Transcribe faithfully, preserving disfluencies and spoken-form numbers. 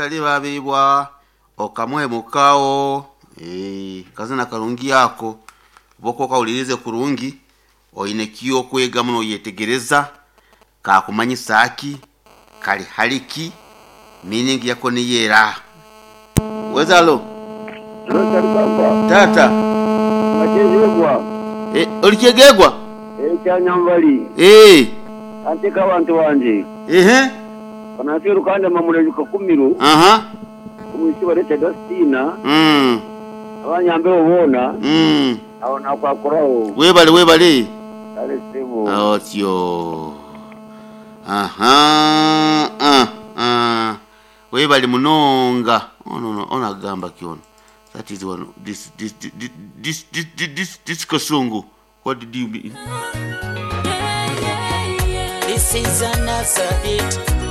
Talibabibwa okamuhemukawo. Eh, kazina karungi yako boko okawulirize kurungi oine kiyo okwega muno oyetegereza kakumanyisa aki kali haliki meaning yako niyera wezalo. Papa. Tata. Nakyezegwa. Eh, olikyegegwa. Ekyanyambali. Eh, anteka abantu banje. Ehe. Kanasi rukanda mamule kakumiro. Aha. Omwisi bareta Dustina. Mm. Abanyambeho boona. Mm. Aho nakwakoraho. Webale webale. Kale sebo. Otyo. Aha. Ah, ah. Webale munonga. Ono ono ono agamba ki ono? That is one this this this this this this, this, this kasungu. What did you mean? This is another hit.